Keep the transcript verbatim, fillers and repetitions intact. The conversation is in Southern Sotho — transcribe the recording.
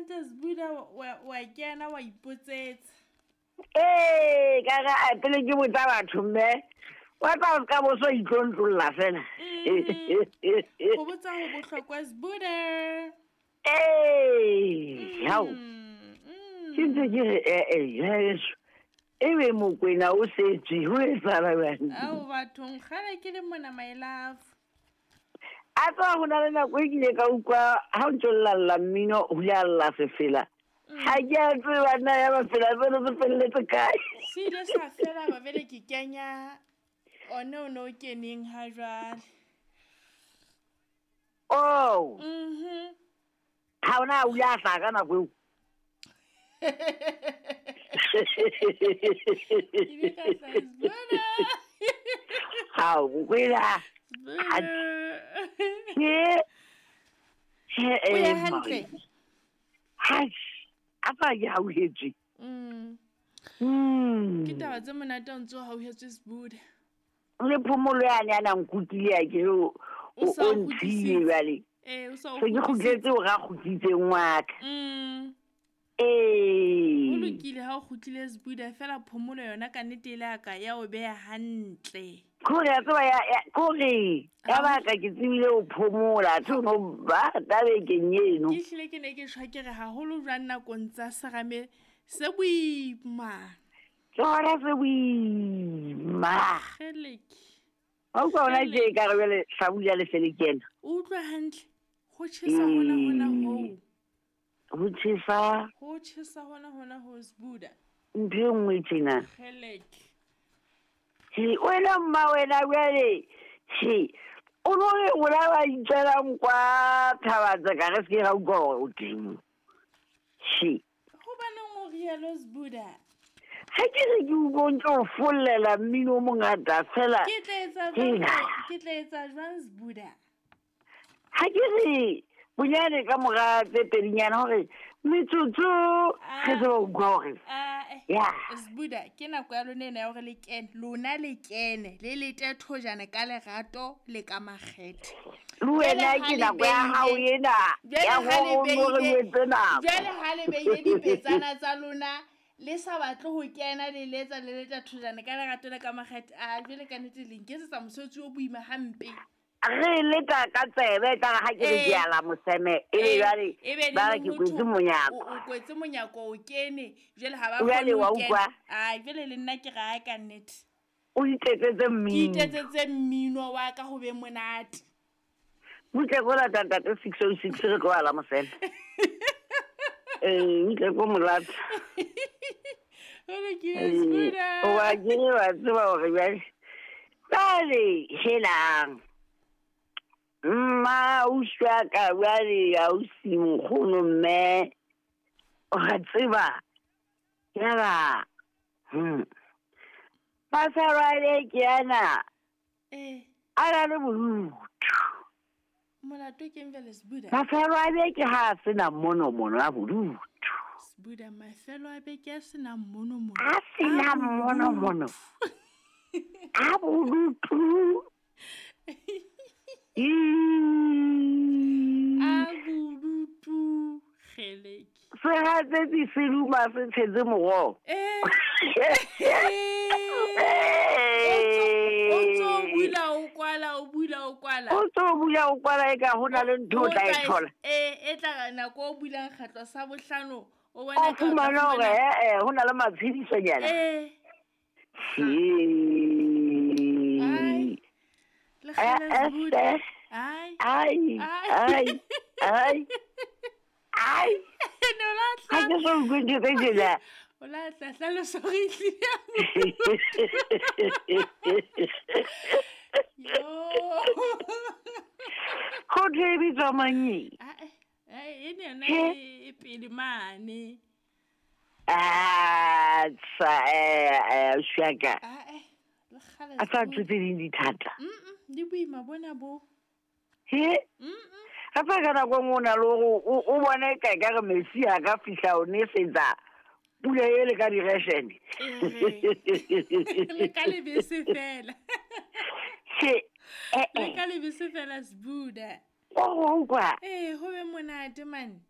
hantle Sbuda, wa kena wa ipotsetsa. Ee, ka re a pele ke botsa batho mme wa tla o ka bo so itlontlolla fela. Go botsa ho bohlokwa Sbuda. Ee, hao. Ke ntse ke re eh eh ebe Mokwena o setswe ho etsahala jwang? Ao bathong kgale ke le mona my love. A tswa ho na le nako e kile ka utlwa ha o ntso llalla mmino ho ile a lla sefela. Ha ke a tseba nna ya mafela tseno se felletse kae. Se ile sa fela ba bele ke kenya one o no keneng ha jwale. Oh. Mhm. Ha ona o ile a hlaha ka nako eo. Hao, Mokwena. Ke O ya hantle. Hai, apa ke hauhetswe. Mm. Mm. Ke taba tse monate o ntso hauhetswe Sbuda. Le phomolo yane a na nkutile ya ke o o ntshile jwale. Eh, o sa o. Se ke kgutletse o ra kgutlitseng wa ka. Mm. Ee. O lokile ha o kgutlile Sbuda fela phomolo yona ka nnete ile ya ka ya o beha hantle. Kore ya tseba ya kore ya baka ke tsebile o phomola tho no ba tabekeng eno. Ke hlile ke ne ke shwa ke re haholo jwang nakong tsa serame se boima. Tsona se boima. Kgeleke. Ha o ka ona tje ka re jwale hlabula le fele ke ena. O utlwa hantle. Ho tjhesa hona hona hoo. Ho tjhesa. Ho tjhesa hona hona ho Sbuda. Ntho e nngwe tjena. Kgeleke. He wena mma wena jwale he o no re o la ba itswelang kwa Thabatsa ka re se ke ra utlwa hore o teng. He hobaneng o rialo Sbuda? Ha ke re ke utlwa ntse o follela mmino o mongata fela. Ke tla etsa jwang? Ke tla etsa jwang Sbuda? Ha ke re bonyane ka mora tse pedinyana hore metsotso re tsebe ho utlwa hore ya Sbuda ke nako ya lona ena ya hore le kene, lona le kene le lete thojana ka lerato le ka makgethe. Le wena ke nako ya hao ena ya hore o re etse nako. Jwale ha le beile dipetsana tsa lona le sa batle ho kena le letsa le leta thojana ka lerato le ka makgethe. A jwale ka nnete le nketsetsa mosebetsi o boima hampe. Re leta ka tsebe ka ha ke re ke ala moseme e be jwale ba re ke kwetse monyako. O kwetse monyako o kene jwale ha ba kgone ho kena. Ai jwale le nna ke ra ka nnete. O itetsetse mmino. Ke itetsetse mmino wa ka ho be monate. Butle go lata ntate six oh six re tlo ala moseme. Eh, butle go molata. O re ke Sbuda. Wa ke wa tseba hore jwale. Jwale helang. Mma o shwa ka jwale ausi nkgono mme o ra tseba yaba hmm Masarale ke ana eh a na le bodutu. Molato ke eng jwale Sbuda? Mafelo a beke ha a sena mono mono a bodutu. Sbuda mafelo a beke a sena mono mono. A sena mono mono. A bodutu. A bodutu kgeleke. Sehatsetsi se duma se tshetse moroho. Eh. O tso bula o kwala o bula o kwala. O tso bula o kwala e ka ho na le ntho o tla e thola. Eh e tla nako o bulang kgetlo sa bohlano o bona ka fumana hore eh eh ho na le matshedisonyana. Eh. Ai. Le kgale Sbuda. Ai. Ai. Ai. Ai. Ai. No la tla. Ha ke so utlwe ntho tse tjena. O la tla hlalosa hore e tlile. Yo. Ho thwe e bitswa mang e? Ah, eh, e ne yona e pele mane. Ah, tsa eh eh shaka. Ah, eh. Le kgale. A sa ntho tse ding di thata. Mm, di boima bona bo. He? Mm. Hape ka nako e nngwe o na le hore o bone ka ekare metsi a ka fihla o nesetsa pula ele ka direshene. Le ka lebese fela. He. Le ka lebese fela Sbuda. O utlwa? Eh, ho be monate man.